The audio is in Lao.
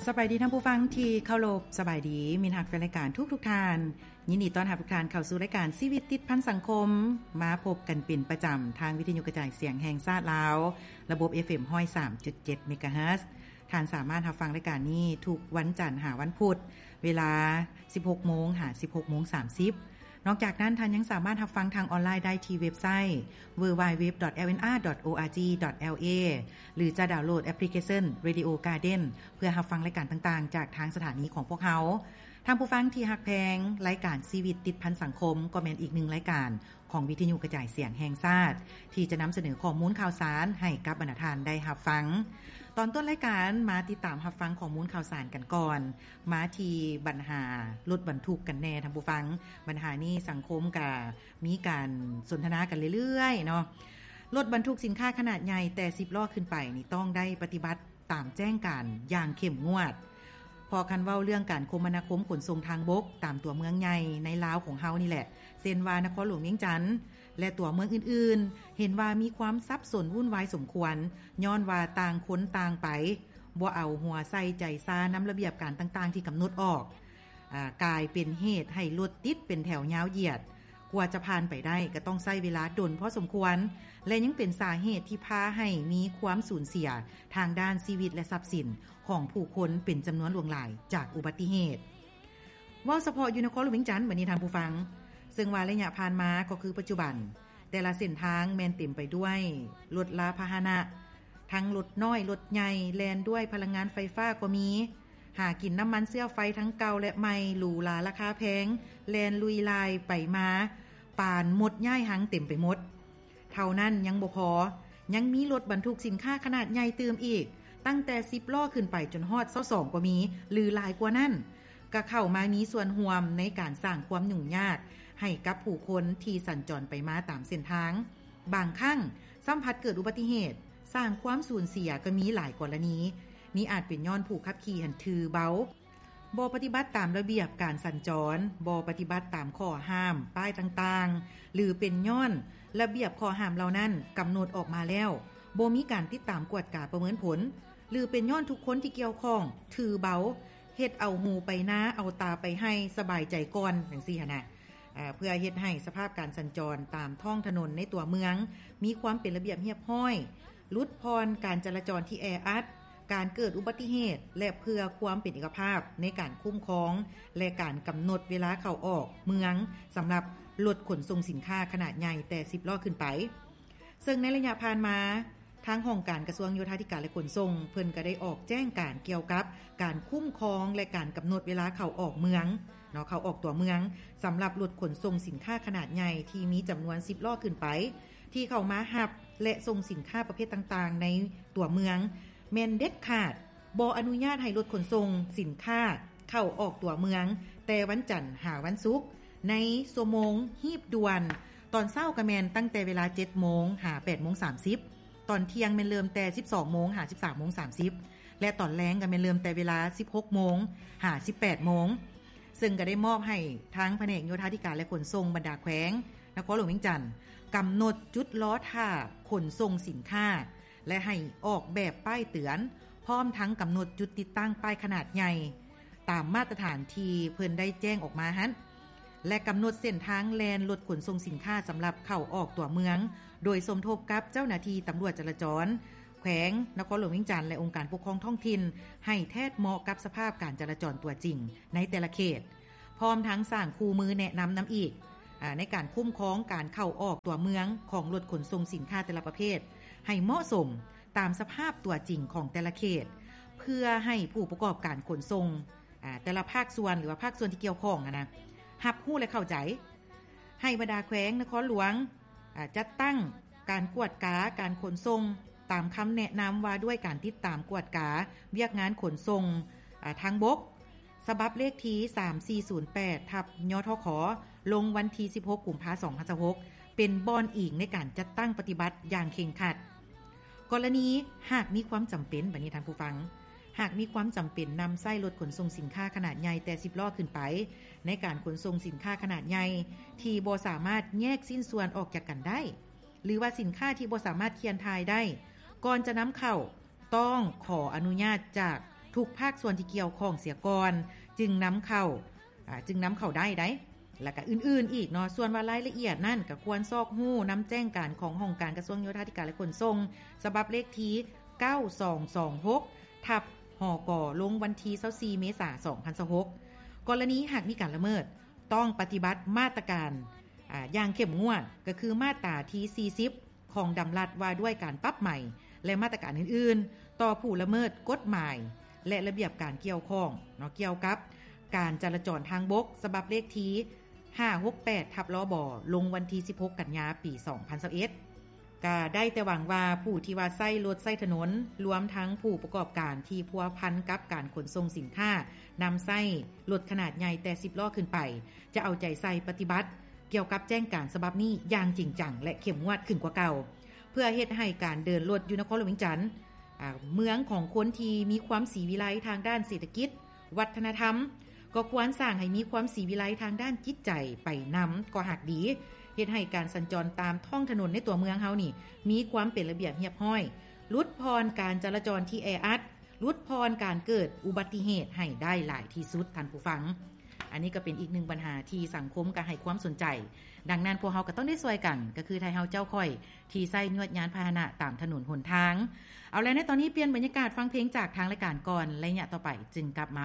ສະບາຍດີທ່ານຜູ້ຟັງທີ່ເຄົາລົບ, ສະບາຍດີມິດຮັກແຟນລາຍການທຸກໆທ່ານ. ຍິນດີຕ້ອນຮັບທຸກທ່ານເຂົ້າສູ່ລາຍການຊີວິດຕິດພັນສັງຄົມ, ມາພົບກັນເປັນປະຈຳທາງວິທະຍຸກະຈາຍສຽງແຫ່ງຊາດລາວ, ລະບົບ ເອຟເອັມ ຮ້ອຍສາມຈຸດເຈັດ ເມກາເຮີດ. ທ່ານສາມາດຮັບຟັງລາຍການນີ້ທຸກວັນຈັນຫາວັນພຸດ, ເວລາ ສິບຫົກໂມງ ຫາ ສິບຫົກໂມງສາມສິບ. ນອກຈາກນັ້ນ, ທ່ານຍັງສາມາດຮັບຟັງທາງອອນລາຍໄດ້ທີ່ເວັບໄຊ ดัບເບິນຢູ ດັບເບິນຢູ ດັບເບິນຢູ ດັບເບິນຢູ ດອດ ເອເອ ຫຼື ຈະດາວໂຫຼດແອັບພລິເຄຊັນ Radio Garden ເພື່ອຮັບຟັງລາຍການຕ່າງໆຈາກທາງສະຖານີຂອງພວກເຮົາ. ທ່ານຜູ້ຟັງທີ່ຮັກແພງ, ລາຍການຊີວິດຕິດພັນສັງຄົມກໍແມ່ນອີກໜຶ່ງລາຍການຂອງວິທະຍຸກະຈາຍສຽງແຫ່ງຊາດ ທີ່ຈະນຳສະເໜີຂໍ້ມູນຂ່າວສານໃຫ້ກັບບັນດາທ່ານໄດ້ຮັບຟັງ. ຕອນຕົ້ນລາຍການ, ມາຕິດຕາມຮັບຟັງຂໍ້ມູນຂ່າວສານກັນກ່ອນ. ມາທີ່ບັນຫາລົດບັນທຸກກັນແນ່ທ່ານຜູ້ຟັງ. ບັນຫານີ້ສັງຄົມກະມີການສົນທະນາກັນເລື້ອຍໆເນາະ. ລົດບັນທຸກສິນຄ້າຂະໜາດໃຫຍ່ແຕ່ສິບລໍ້ຂຶ້ນໄປນີ້ ຕ້ອງໄດ້ປະຕິບັດຕາມແຈ້ງການຢ່າງເຂັ້ມງວດ, ເພາະຄັນເວົ້າເລື່ອງການຄົມມະນາຄົມຂົນສົ່ງທາງບົກຕາມຕົວເມືອງໃຫຍ່ໃນລາວຂອງເຮົານີ້ແຫຼະ, ເຊັ່ນວ່ານະຄອນຫຼວງວຽງຈັນ ແລະ ຕົວເມືອງອື່ນໆ, ເຫັນວ່າມີຄວາມສັບສົນວຸ່ນວາຍສົມຄວນ, ຍ້ອນວ່າຕ່າງຄົນຕ່າງໄປ, ບໍ່ເອົາຫົວໃສ່ໃຈຊານຳລະບຽບການຕ່າງໆທີ່ກຳນົດອອກ, ອາ, ກາຍເປັນເຫດໃຫ້ລົດຕິດເປັນແຖວຍາວຢຽດ, ກວ່າຈະຜ່ານໄປໄດ້ກໍຕ້ອງໃຊ້ເວລາດົນພໍສົມຄວນ ແລະ ຍັງເປັນສາເຫດທີ່ພາໃຫ້ມີຄວາມສູນເສຍທາງດ້ານຊີວິດ ແລະ ຊັບສິນຂອງຜູ້ຄົນເປັນຈຳນວນຫຼວງຫຼາຍຈາກອຸບັດຕິເຫດ. ເວົ້າສະເພາະຢູ່ນະຄອນຫຼວງວຽງຈັນບັດນີ້ທ່ານຜູ້ຟັງ, ເຊິ່ງວ່າໄລຍະຜ່ານມາກໍຄືປັດຈຸບັນ, ແຕ່ລະເສັ້ນທາງແມ່ນເຕັມໄປດ້ວຍລົດລາພາຫະນະ, ທັງລົດນ້ອຍລົດໃຫຍ່ແລ່ນດ້ວຍພະລັງງານໄຟຟ້າກໍມີ, ຫາກິນນ້ຳມັນເຊື້ອໄຟທັງເກົ່າ ແລະ ໃໝ່, ຫຼູຫຼາລາຄາແພງ, ແລ່ນລຸຍລາຍໄປມາ, ປານມົດຍ້າຍຮັງເຕັມໄປໝົດ. ເທົ່ານັ້ນຍັງບໍ່ພໍ, ຍັງມີລົດບັນທຸກສິນຄ້າຂະໜາດໃຫຍ່ຕື່ມອີກ, ຕັ້ງແຕ່ສິບລໍ້ຂຶ້ນໄປຈົນຮອດຊາວສອງກໍມີ ຫຼື ຫຼາຍກວ່ານັ້ນ, ກໍເຂົ້າມາມີສ່ວນຮ່ວມໃນການສ້າງຄວາມຫຍຸ້ງຍາກໃຫ້ກັບຜູ້ຄົນທີ່ສັນຈອນໄປມາຕາມເສັ້ນທາງ. ບາງຄັ້ງຊ້ຳພັດເກີດອຸບັດຕິເຫດ, ສ້າງຄວາມສູນເສຍກໍມີຫຼາຍກໍລະນີ. ນີ້ອາດເປັນຍ້ອນຜູ້ຂັບຂີ່ຫັ້ນຖືເບົາ, ບໍ່ປະຕິບັດຕາມລະບຽບການສັນຈອນ, ບໍ່ປະຕິບັດຕາມຂໍ້ຫ້າມ, ປ້າຍຕ່າງໆ ຫຼື ເປັນຍ້ອນລະບຽບຂໍ້ຫ້າມເຫຼົ່ານັ້ນກຳນົດອອກມາແລ້ວ ບໍ່ມີການຕິດຕາມກວດກາປະເມີນຜົນ, ຫຼື ເປັນຍ້ອນທຸກຄົນທີ່ກ່ຽວຂ້ອງຖືເບົາ, ເຮັດເອົາຫູໄປນາ, ເອົາຕາໄປໄຮ່, ສະບາຍໃຈກ່ອນ ຈັ່ງຊີ້ຫັ້ນນະ. ເພື່ອເຮັດໃຫ້ສະພາບການສັນຈອນຕາມທ້ອງຖະໜົນໃນຕົວເມືອງມີຄວາມເປັນລະບຽບຮຽບຮ້ອຍ, ຫຼຸດຜ່ອນການຈະລາຈອນທີ່ແອອັດ, ການເກີດອຸບັດຕິເຫດ ແລະ ເພື່ອຄວາມເປັນເອກະພາບໃນການຄຸ້ມຄອງ ແລະ ການກຳນົດເວລາເຂົ້າອອກເມືອງ ສຳລັບລົດຂົນສົ່ງສິນຄ້າຂະໜາດໃຫຍ່ແຕ່ສິບລໍ້ຂຶ້ນໄປ. ເຊິ່ງໃນໄລຍະຜ່ານມາ, ທາງຫ້ອງການກະຊວງໂຍທາທິການ ແລະ ຂົນສົ່ງ ເພິ່ນກໍໄດ້ອອກແຈ້ງການກ່ຽວກັບການຄຸ້ມຄອງ ແລະ ການກຳນົດເວລາເຂົ້າອອກເມືອງເນາະ, ເຂົ້າອອກຕົວເມືອງ ສຳລັບລົດຂົນສົ່ງສິນຄ້າຂະໜາດໃຫຍ່ທີ່ມີຈຳນວນສິບລໍ້ຂຶ້ນໄປ ທີ່ເຂົ້າມາຮັບ ແລະ ສົ່ງສິນຄ້າປະເພດຕ່າງໆໃນຕົວເມືອງ ແມ່ນເດັດຂາດບໍ່ອະນຸຍາດໃຫ້ລົດຂົນສົ່ງສິນຄ້າເຂົ້າອອກຕົວເມືອງ ແຕ່ວັນຈັນຫາວັນສຸກ ໃນຊົ່ວໂມງຮີບດ່ວນ. ຕອນເຊົ້າກໍແມ່ນຕັ້ງແຕ່ເວລາເຈັດໂມງຫາແປດໂມງສາມສິບ, ຕອນທ່ຽງແມ່ນເລີ່ມແຕ່ສິບສອງໂມງຫາສິບສາມໂມງສາມສິບ ແລະ ຕອນແລງກໍແມ່ນເລີ່ມແຕ່ເວລາສິບຫົກໂມງຫາສິບແປດໂມງ. ເຊິ່ງກໍໄດ້ມອບໃຫ້ທາງພະແນກໂຍທາທິການ ແລະ ຂົນສົ່ງບັນດາແຂວງນະຄອນຫຼວງວຽງຈັນ ກຳນົດຈຸດລໍຖ້າຂົນສົ່ງສິນຄ້າ ແລະ ໃຫ້ອອກແບບປ້າຍເຕືອນ, ພ້ອມທັງກຳນົດຈຸດຕິດຕັ້ງປ້າຍຂະໜາດໃຫຍ່ ຕາມມາດຕະຖານທີ່ເພິ່ນໄດ້ແຈ້ງອອກມາຫັ້ນ ແລະ ກຳນົດເສັ້ນທາງແລ່ນລົດຂົນສົ່ງສິນຄ້າສຳລັບເຂົ້າອອກຕົວເມືອງ, ໂດຍສົມທົບກັບເຈົ້າໜ້າທີ່ຕຳຫຼວດຈະລາຈອນແຂວງນະຄອນຫຼວງວຽງຈັນ ແລະ ອົງການປົກຄອງທ້ອງຖິ່ນ ໃຫ້ແທດເໝາະກັບສະພາບການຈະລາຈອນຕົວຈິງໃນແຕ່ລະເຂດ, ພ້ອມທັງສ້າງຄູ່ມືແນະນຳນຳອີກ, ອາ, ໃນການຄຸ້ມຄອງການເຂົ້າອອກຕົວເມືອງຂອງລົດຂົນສົ່ງສິນຄ້າແຕ່ລະປະເພດ ໃຫ້ເໝາະສົມຕາມສະພາບຕົວຈິງຂອງແຕ່ລະເຂດ, ເພື່ອໃຫ້ຜູ້ປະກອບການຂົນສົ່ງ ອາ, ແຕ່ລະພາກສ່ວນ ຫຼືວ່າພາກສ່ວນທີ່ກ່ຽວຂ້ອງຫັ້ນນະ ຮັບຮູ້ ແລະ ເຂົ້າໃຈ. ໃຫ້ບັນດາແຂວງນະຄອນຫຼວງ, ອາ, ຈັດຕັ້ງການກວດກາການຂົນສົ່ງ ຕາມຄຳແນະນຳວ່າດ້ວຍການຕິດຕາມກວດກາວຽກງານຂົນສົ່ງ, ອາ, ທາງບົກ ສະບັບເລກທີສາມສີ່ສູນແປດ ທັບ ຍທຂ ລົງວັນທີສິບຫົກ ກຸມພາ ສອງພັນຊາວຫົກ ເປັນບ່ອນອີງໃນການຈັດຕັ້ງປະຕິບັດຢ່າງເຄັ່ງຄັດ. ກໍລະນີຫາກມີຄວາມຈຳເປັນ, ບັດນີ້ທ່ານຜູ້ຟັງ, ຫາກມີຄວາມຈຳເປັນນຳໃຊ້ລົດຂົນສົ່ງສິນຄ້າຂະໜາດໃຫຍ່ແຕ່ສິບລໍ້ຂຶ້ນໄປ ໃນການຂົນສົ່ງສິນຄ້າຂະໜາດໃຫຍ່ທີ່ບໍ່ສາມາດແຍກຊິ້ນສ່ວນອອກຈາກກັນໄດ້ ຫຼືວ່າສິນຄ້າທີ່ບໍ່ສາມາດເຄື່ອນຖ່າຍໄດ້ ກ່ອນຈະນຳເຂົ້າ ຕ້ອງຂໍອະນຸຍາດຈາກ ທຸກພາກສ່ວນທີ່ກ່ຽວຂ້ອງເສຍກ່ອນ ຈຶ່ງນຳເຂົ້າ ອາ ຈຶ່ງນຳເຂົ້າໄດ້ໄດ໋ ແລະກະອື່ນໆອີກເນາະ. ສ່ວນວ່າລາຍລະອຽດນັ້ນ ກະຄວນຊອກຮູ້ນຳແຈ້ງການຂອງຫ້ອງການກະຊວງໂຍທາທິການ ແລະຂົນສົ່ງ ສະບັບເລກທີ ເກົ້າສອງສອງຫົກ ທັບ ຫກ ລົງວັນທີ ຊາວສີ່ ເມສາ ສອງພັນຊາວຫົກ. ກໍລະນີຫາກມີການລະເມີດ ຕ້ອງປະຕິບັດມາດຕະການ ອາ ຢ່າງເຂັ້ມງວດ ກໍຄືມາດຕາທີ ສີ່ສິບ ຂອງດຳລັດວ່າດ້ວຍການປັບໃໝ ແລະມາດຕະການອື່ນໆ ຕໍ່ຜູ້ລະເມີດກົດໝາຍ ແລະລະບຽບການກ່ຽວຂ້ອງເນາະ ກ່ຽວກັບການຈະລາຈອນທາງບົກ ສະບັບເລກທີ ຫ້າຫົກແປດ ທັບ ລບ ລົງວັນທີ ສິບຫົກ ກັນຍາ ປີ ສອງພັນຊາວເອັດ. ກະໄດ້ແຕ່ຫວັງວ່າຜູ້ທີ່ວ່າໃຊ້ລົດໃຊ້ຖະໜົນ ລວມທັງຜູ້ປະກອບການທີ່ພົວພັນກັບການຂົນສົ່ງສິນຄ້າ ນຳໃຊ້ລົດຂະໜາດໃຫຍ່ແຕ່ ສິບ ລໍ້ຂຶ້ນໄປ ຈະເອົາໃຈໃສ່ປະຕິບັດກ່ຽວກັບແຈ້ງການສະບັບນີ້ຢ່າງຈິງຈັງ ແລະເຂັ້ມງວດຂຶ້ນກວ່າເກົ່າ ເພື່ອເຮັດໃຫ້ການເດີນລົດຢູ່ນະຄອນຫຼວງວຽງຈັນ ອາ ເມືອງຂອງຄົນທີ່ມີຄວາມສີວິໄລທາງດ້ານເສດຖະກິດ, ວັດທະນະທຳ ກໍຄວນສ້າງໃຫ້ມີຄວາມສີວິໄລທາງດ້ານຈິດໃຈໄປນຳກໍຫາກດີ ເຮັດໃຫ້ການສັນຈອນຕາມທ້ອງຖະໜົນໃນຕົວເມືອງເຮົານີ້ ມີຄວາມເປັນລະບຽບຮຽບຮ້ອຍ, ຫຼຸດຜ່ອນການຈະລາຈອນທີ່ແອອັດ, ຫຼຸດຜ່ອນການເກີດອຸບັດຕິເຫດໃຫ້ໄດ້ຫຼາຍທີ່ສຸດ. ທ່ານຜູ້ຟັງ, ອັນນີ້ກໍເປັນອີກໜຶ່ງບັນຫາທີ່ສັງຄົມກໍໃຫ້ຄວາມສົນໃຈ. ດັ່ງນັ້ນພວກເຮົາກໍຕ້ອງໄດ້ຊ່ວຍກັນ, ກໍຄືໄທເຮົາເຈົ້າຂ້ອຍ ທີ່ໃຊ້ຍວດຍານພາຫະນະຕາມຖະໜົນຫົນທາງ. ເອົາແລ້ວ, ໃນຕອນນີ້ປ່ຽນບັນຍາກາດຟັງເພງຈາກທາງລາຍການກ່ອນ, ໄລຍະຕໍ່ໄປຈຶ່ງກັບມາ.